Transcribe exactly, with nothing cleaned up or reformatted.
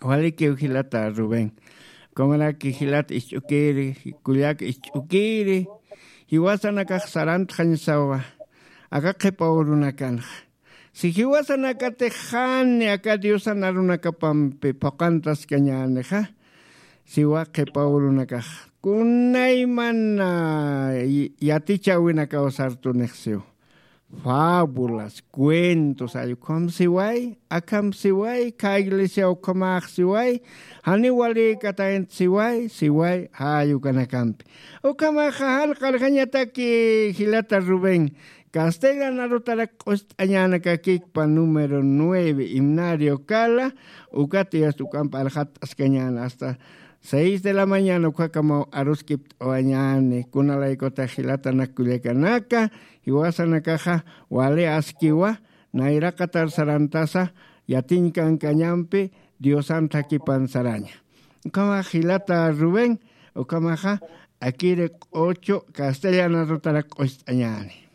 Walikiw jilata Rubén. Kumaraki jilat isch'ukiri, kullak isch'ukiri, jiwasanakax sarantxañsawa aka qhipa urunakanxa. Si jiwasanakatix jani aka diosan arunakapampi phuqantaskañänixa, siwa qhipa urunakax kunaymana yatichäwinakaw sartunix siw. Fábulas, cuentos, ay ukham siway, akham siway, khä iglesia ukhamax siway, janiw walïkataynta siway siway, jay ukanakampi. Ukhamaxa jan qarjañataki jilata Rubén, castellan arutarak q'ust'añänakakikpa número nueve, himnario kala. Ukat yasta uk'amp arxatt'askañäna hasta seis de la mañana ukhakamaw aruskipt'awañäni. Kunalaykutax jilatanak kullakanaka, jiwasanakaxa wali askiwa nayraqatar sarantasa yatiñkankañampi diosan thakhipan saraña. Ukhamax jilata Rubén, ukhamaxa akiri q'uchu castellan arutarak q'ust'añäni.